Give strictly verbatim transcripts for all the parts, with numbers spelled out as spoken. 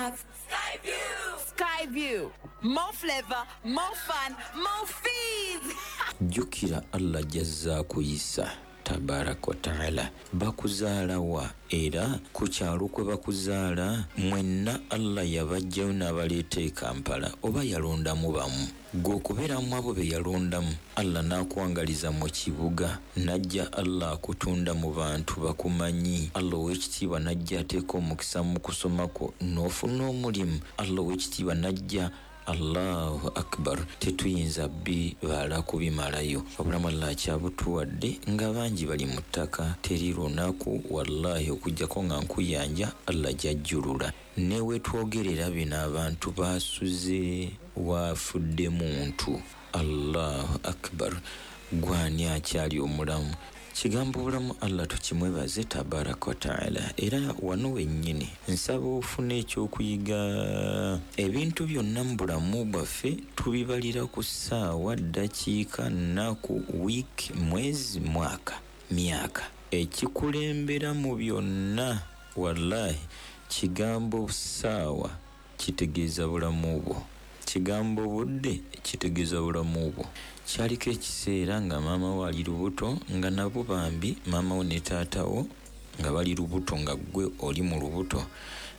have Skyview. Skyview. More flavor, more fun, more fees. Jjukira Allah jazza kuyisa tabaraka wa taala. Bakuzaala wa era ku kyalo kwe bakuzaala mwenna Allah yabajjayo n'abaleeta e Kampala oba yalondamu bamu. Gwe okubeeramu abo be yalondamu, Allah n'akuwangaliza mu kibuga, n'ajja Allah akutunda mu bantu bakumanyi. Allah ow'ekitiibwa n'ajja ateeka omukisa mu kusoma kwo n'ofuna omulimu. Allah ow'ekitiibwa n'ajja. Allahu akbar, tetuyinza bibala kubimalayo. Obulamu Allah akyabutuwadde nga bangi bali mu ttaka, teri lunaku wallahi okuggyako nga nkuyanja Allah gy'ajjulula. Ne we twogerera bino abantu basuze wafudde muntu. Allahu akbar, gwani akyali omulamu? Kigambo obulamu Allah tukimwebaze tabaraka wa taala. Era wano wennyini nsaba ofune ekyokuyiga. Ebintu byonna mu bulamu bwaffe tubibalira ku ssaawa, ddakiika, nnaku, wiiki, mwezi, mwaka, myaka. Ekikulembera mu byonna wallahi kigambo ssaawa kitegeeza bulamu bwo, kigambo budde kitegeeza bulamu bwo. Kyaliko ekiseera nga maama wo ali lubuto, nga nabo bambi maama wo ne taata wo nga bali lubuto, nga ggwe oli mu lubuto,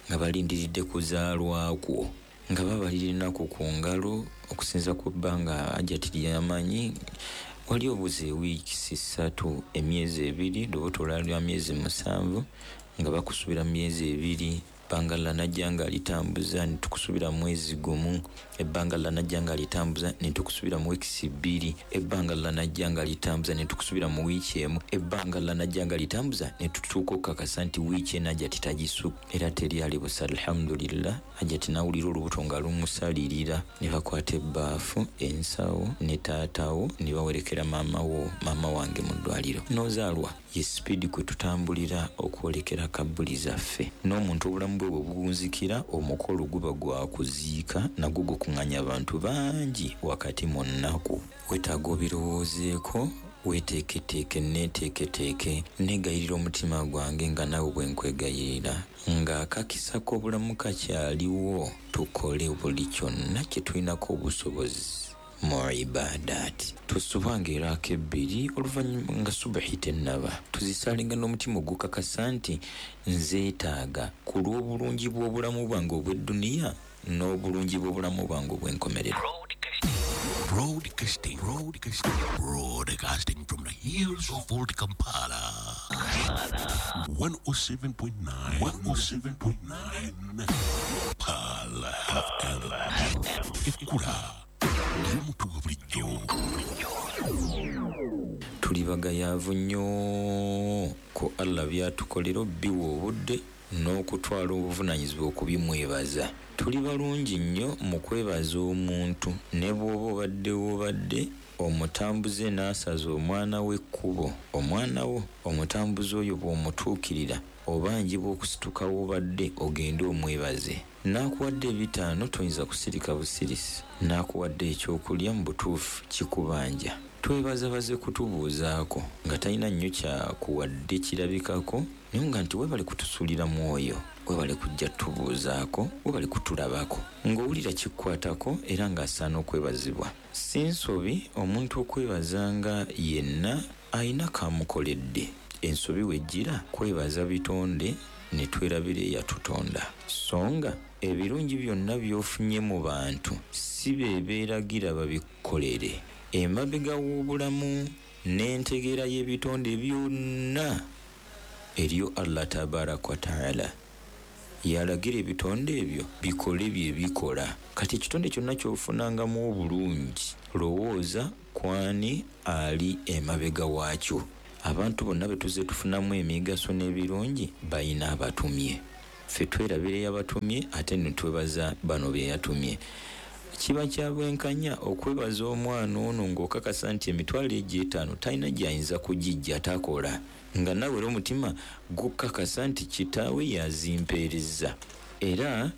nga balindiridde kuzaalwa kwo, nga babalira ennaku ku ngalo okusinza ku bbanga Hajjati lyamanyi. Wali obuze wiiki ssatu, emyezi ebiri, lubuto lwali lwa myezi musanvu, nga bakusubira myezi ebiri. Ebbanga Allah najja nga alitambuza ne tukusubira mwezi gumu, ebbanga Allah najja nga alitambuza ne tukusubira mu wiiki bbiri, ebbanga Allah najja nga alitambuza ne tukusubira mu wiiki emu, ebbanga Allah najja nga alitambuza ne tutuuka okukakasa nti wiiki eno Hajjati tagisuka era teri ali busa. Alhamdulillah, Hajjati n'awulira olubuto nga lumusalirira, ne bakwata ebbaafu, ensawo ne taatawo ne bawerekera maama wo, maama wange mu ddwaliro. N'ozaalwa ye sipiidi kwe tutambulira okwolekera kabbuli zaffe. N'omuntu obulamu bwe bwe bugunzikira, omukolo guba gwa kuziika nagwo gukuŋŋaanya abantu bangi wakati mu nnaku. Weetaaga obirowoozeeko, weeteeketeeke, neeteeketeeke. Neegayirira omutima gwange nga naawe bwe nkwegayirira, ng'akakisa k'obulamu kakyaliwo, tukole buli kyonna kye tulinako obusobozi mu ibadaati. Tusubanga eraaka ebbiri oluvannyuma nga subuhi tennaba, tuzisalenga n'omutima ogukakasa nti nzeetaaga ku lw'obulungi bw'obulamu bwange obw'edduniya n'obulungi bw'obulamu bwange obw'enkomerero. Broadcasting, broadcasting, broadcasting from the hills of Old Kampala. one oh seven point nine, one oh seven point nine, Pearl F M. Ekkula ly'omuntu wa bulijjo. Tuli bagayaavu nnyo ku Allah byatukolera obbiwa obudde n'okutwala obuvunaanyizibwa okubimwebaza. Tuli balungi nnyo mu kwebaza omuntu, ne bw'oba obadde w'obadde omutambuze n'asaza omwana w'ekkubo, omwana wo omutambuze oyo bw'omutuukirira obanjibwa okusituka w'obadde ogende omwebaze. N'akuwadde ebitaano toyinza kusirika busirisi, n'akuwadde ekyokulya mu butuufu kikubanja. Twebaza baze kutubuuzaako nga talina nnyo kyakuwadde kirabikako, naye nga nti weebale kutusuulira mwoyo, weebale kujja tubuuzaako, weebale kutulabako, ng'owulira kikukwatako era ng'asaana okwebazibwa. Si nsobi omuntu okwebazanga yenna ayina kamukoledde. Ensobi wejjira kwebaza bitonde ne twerabira eyatutonda. So nga ebirungi byonna by'ofunye mu bantu si be beeragira babikolere. Emabega w'obulamu n'entegeera y'ebitonde byonna eriyo Allah tabaraka wa taala yalagira ebitonde ebyo bikole bye bikola. Kati ekitonde kyonna ky'ofunangamu obulungi, lowooza kwani ali emabega waakyo. Abantu bonna be tuzze tufunamu emigaso n'ebirungi bayina abatumye. Ffe twerabira eyabatumye ate ne twebaza bano be yatumye. Kiba kya bwenkanya okwebaza omwana ono ng'okakasa nti emitwalo egyo etaano talina gy'ayinza kugijja takola, nga naawe era omutima gukakasa nti kitaawe yazimpeereza. Era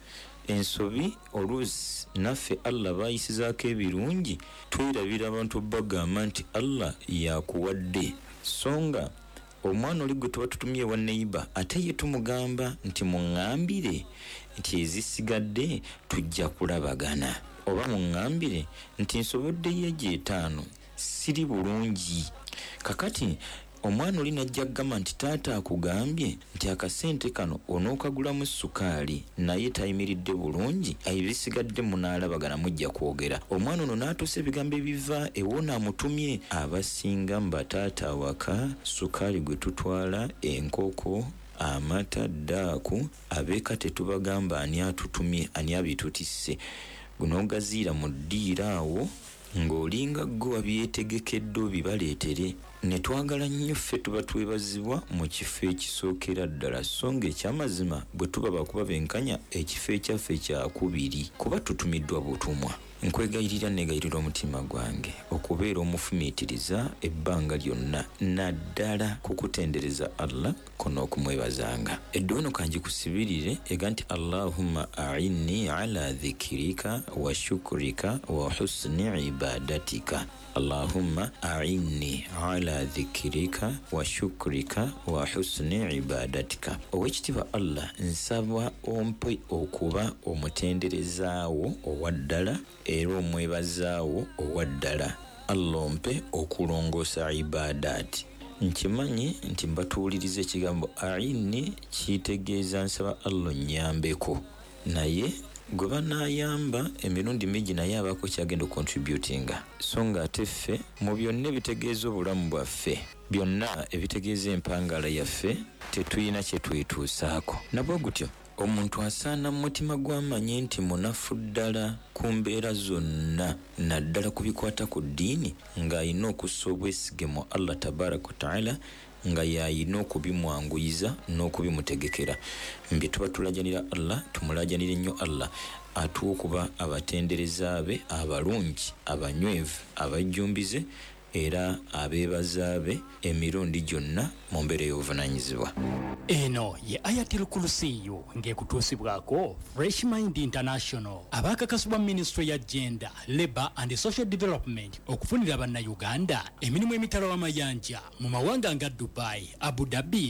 ensobi oluusi naffe Allah baayisizaako ebirungi, twerabira abantu bagamba nti Allah yakuwadde. So nga omwana oli gwe tuba tutumye wa neighbor ate ye tumugamba nti muŋŋambire Nti ezisigadde tujja kulabagana, oba muŋŋambire nti nsoboddeyo egyo etaano, siri bulungi. Kakati omwana oli najja kugamba nti taata akugambye nti akasente kano onookagulamu sukaali, naye tayimiridde bulungi, ebisigadde munaalabagana, mujja kwogera. Omwana ono n'atuusa ebigambo ebiva ewona amutumye. Abasinga mu bataata awaka sukaali gwe tutwala, enkoko, amata, ddaaku, abeeka tetubagamba ani atutumye, ani abitutisse. Gunogaziira mu ddiiro awo ng'olinga gwe wabyetegekedde obibaleetere. Ne twagala nnyo ffe tuba twebazibwa mu kifo ekisookera ddala, so ng'ekyamazima bwe tuba bakuba benkanya ekifo ekyaffe kyakubiri, kuba tutumiddwa butumwa. Nkwegayirira, negayirira omutima gwange okubeera omufumiitiriza ebbanga lyonna, naddala ku kutendereza Allah ko n'okumwebazanga. Edduwa eno kangikusibirire ega nti Allahumma a'inni ala dhikirika wa shukrika wa husni ibadatika. Allahumma a'inni ala dhikirika wa shukrika wa husni ibadatika. Owekitiibwa Allah, nsaba ompe okuba omutenderezaawo owa ddala era omwebazaawo owa ddala. Allah ompe okulongoosa ibadaati. Nkimanyi nti mbatuwuliriza ekigambo a'inni kitegeeza nsaba Allah onnyambeko, naye gwe banaayamba emirundi mingi naye abaako kyagenda okontributinga. So ng'ate ffe mu byonna ebitegeeza obulamu bwaffe, byonna ebitegeeza empangala yaffe, tetulina kye twetuusaako. Nabwe gutyo omuntu asaana mu mutima gw'amanye nti munafu ddala ku mbeera zonna, naddala ku bikwata ku ddiini, ng'alina okussa obwesige mu Allah tabaraka wa taala, nga y'alina okubimwanguyiza n'okubimutegekera. Mbye tuba tulajanira Allah, tumulajanire nnyo Allah atuwe okuba abatendereza be abalungi, abanywevu, abajjumbize era abeebaza be emirundi gyonna mu mbeera ey'obuvunaanyizibwa. Eno ye Ayatul Kursiyu ng'ekutuusibwako Fresh Mind International, abaakakasibwa Minisitule ya Gender, Labour and Social Development okufunira Bannayuganda emirimu emitala w'amayanja mu mawanga nga Dubai, Abu Dhabi.